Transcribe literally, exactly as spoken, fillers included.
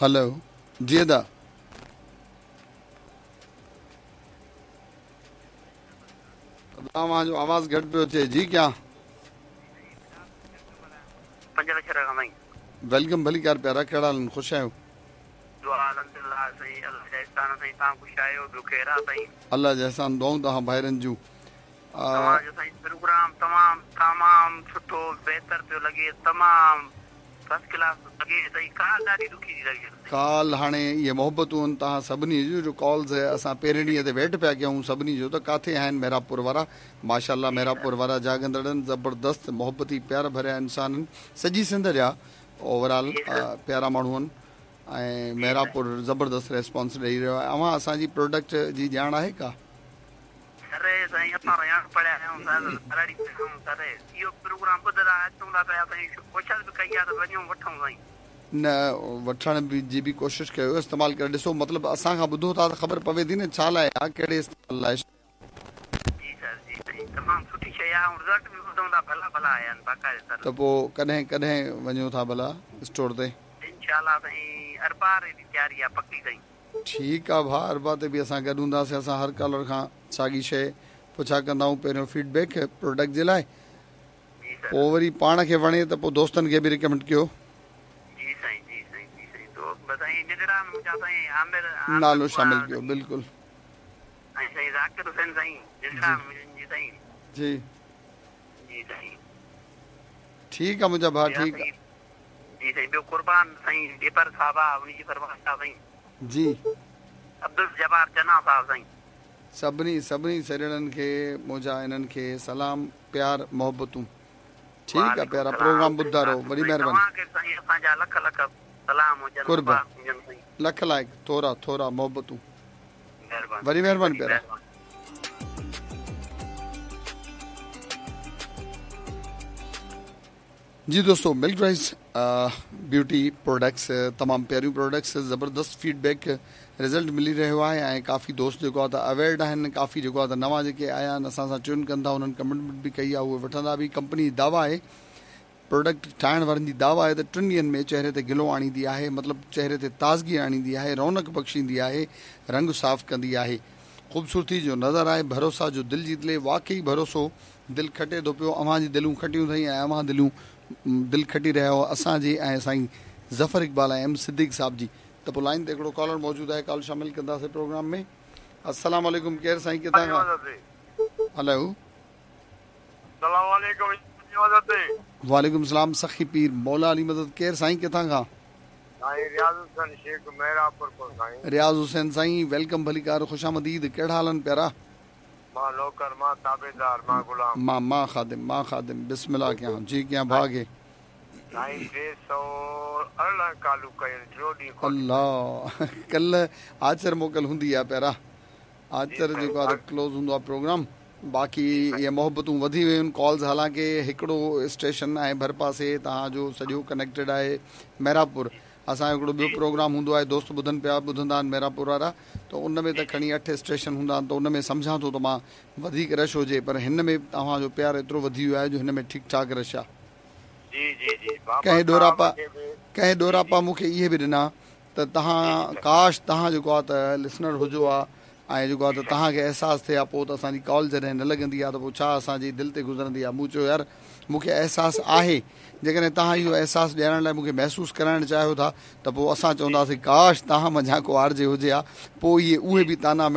Hello जी अदा। तव्हांजो आवाज़ घटि पियो अचे। जी क्या पंज लख साईं। Welcome भलीकार प्यारा, कहिड़ा हाल आहिनि? ख़ुशि आहियो? अल्लाह जा एहसान, दुआऊं तव्हां भाइरनि जूं। तव्हांजो साईं प्रोग्राम तमामु तमामु सुठो बहितर पियो लॻे, तमामु फर्स्ट क्लास लॻे साईं। काल ॾाढी ॾुखी थी लॻे काल। हाणे इहे मोहबतूं आहिनि तव्हां सभिनी जूं, जो कॉल्स असां पहिरें ॾींहं ते वेट पिया कयूं सभिनी जो त किथे आहिनि मेहराबपुर वारा। माशाअल्लाह मेहराबपुर वारा जागंदड़ आहिनि, ज़बरदस्त मोहबती प्यार भरिया इंसान आहिनि, सॼी सिंध जा ओवरऑल प्यारा माण्हू आहिनि ऐं मेहराबपुर ज़बरदस्त रिस्पॉन्स ॾेई रहियो आहे। अव्हां असांजी प्रोडक्ट जी ॼाण आहे का? सर साईं असां पढ़िया आहियूं सर, सर इहो प्रोग्राम ॿुधंदा अचूं था पिया साईं, कोशिश बि कई आहे त वञूं वठूं साईं। न वठण बि जी बि कोशिश कयो, इस्तेमालु करे ॾिसो। मतिलबु असां खां ॿुधो था त ख़बर पवे थी न छा लाइ आहे, कहिड़े इस्तेमाल लाइ। जी सर जी साईं, तमामु सुठी शइ आहे, रिज़ल्ट बि ॿुधूं था भला भला आया आहिनि बाक़ाइदा सर। त पोइ कॾहिं कॾहिं वञो था भला स्टोर ते? इंशाअल्लाह साईं अरबा रे तयारी आहे पकी साईं। ठीकु आहे भाउ, अरबा ते बि असां गॾु हूंदासीं। असां हर कॉलर खां साॻी शइ पुछा कंदा आहियूं, पहिरियों फीडबैक प्रोडक्ट जे लाइ, पोइ वरी पाण खे वणे त पोइ दोस्तनि खे बि रिकमेंड कयो। जी साईं जी साईं जी साईं, तो साईं निगरान मुंहिंजा साईं आमिर नालो शामिल कयो। बिल्कुलु साईं साईं ज़ाकिर हुसैन साईं निगरान मुंहिंजी साईं। जी जी साईं ठीकु आहे मुंहिंजा भाउ, ठीकु आहे जी साईं। ॿियो कुर्बान साईं ॾेपर साहिबु आहे, उनजी फरमाइश आहे साईं। जी अब्दुल जबार चना साहिबु साईं। सभिनी सभिनी सरिड़नि खे मुंहिंजा इन्हनि खे सलाम, प्यार, मोहबतूं। ठीकु आहे प्यारा, प्रोग्राम ॿुधंदा रहो। वॾी महिरबानी। कुर्ब, लख लाइक़, थोरा थोरा मोहबतूं। वॾी महिरबानी प्यारा। जी दोस्तों, मिल्क राइस ब्यूटी प्रोडक्ट्स तमामु प्यारियूं प्रोडक्ट्स, ज़बरदस्त फीडबैक रिज़ल्ट मिली रहियो आहे ऐं काफ़ी दोस्त जेको आहे त अवेयर्ड आहिनि, काफ़ी जेको आहे त नवां जेके आया आहिनि असां सां ट्यून कनि था, उन्हनि कमिटमेंट बि कई आहे, उहे वठंदा बि। कंपनी जी दावा आहे, प्रोडक्ट ठाहिण वारनि जी दावा आहे त टिनि ॾींहंनि में चेहरे ते ग्लो आणींदी आहे, मतिलबु चेहरे ते ताज़गी आणींदी आहे, रौनक बख़्शींदी आहे, रंग साफ़ कंदी आहे, ख़ूबसूरती जो नज़र आहे, भरोसा जो दिलि जीत ले। वाकई भरोसो दिलि खटे थो पियो, अव्हां जी दिलूं खटियूं अथई ऐं अव्हां दिलूं दिलि खटी रहिया हो असांजी ऐं साईं ज़फ़र इक़बाल ऐं एम सिद्दीक़ साहिब जी। त पोइ लाइन ते हिकिड़ो कॉलर मौजूदु आहे, कॉल शामिल कंदासीं प्रोग्राम में। अस्सलाम वालेकुम, केरु साईं किथां खां? हेलो वालेकुम सलाम, सखी पीर मौला अली मदद। केरु साईं किथां खां? रियाज़ हुसैन शेख मेहराबपुर खां साईं। रियाज़ हुसैन साईं welcome, भलीकार, ख़ुशामदीद। कहिड़ा हाल आहिनि प्यारा? मां नौकर, मां ताबेदार, मां गुलाम, मां मां ख़ादिम, मां ख़ादिम। बिस्मिल्लाह कयां जी, कयां भाउ खे? साईं टे सौ अरिड़हं कालू कयूं टियों ॾींहुं। अल्लाह, कल्ह आचर मोकल हूंदी आहे प्यारा, आचर जेको आहे क्लोज़ हूंदो आहे प्रोग्राम। बाक़ी इहे मोहबतूं वधी वयूं आहिनि, कॉल्स हालांकि हिकिड़ो स्टेशन ऐं भरपासे तव्हांजो सॼो कनेक्टेड आहे मेहराबपुर। असांजो हिकिड़ो ॿियो प्रोग्राम हूंदो आहे, दोस्त ॿुधनि पिया, ॿुधंदा आहिनि मेहराबपुर वारा, त उन में त खणी अठ स्टेशन हूंदा आहिनि, त उन में सम्झां थो त मां वधीक रश हुजे, पर हिन में तव्हांजो प्यार एतिरो वधी वियो आहे जो हिन में ठीकु ठाक रश आहे। जी जी जी। कंहिं ॾोरापा कंहिं ॾोरापा मूंखे इहे बि ॾिना त तव्हां काश तव्हां जेको आहे त लिसनर हुजो आहे ऐं जेको आहे त तव्हांखे अहसासु थिए आहे, पोइ त असांजी कॉल जॾहिं न लॻंदी आहे त पोइ छा असांजी दिलि ते गुज़रंदी आहे। मूं चयो यार मूंखे अहसासु आहे, जेकॾहिं तव्हां इहो अहसासु ॾियारण लाइ मूंखे महसूसु कराइणु चाहियो था त पोइ असां चवंदासीं काश तव्हां मंझां को आरजे हुजे हा, पोइ इहे उहे बि ताना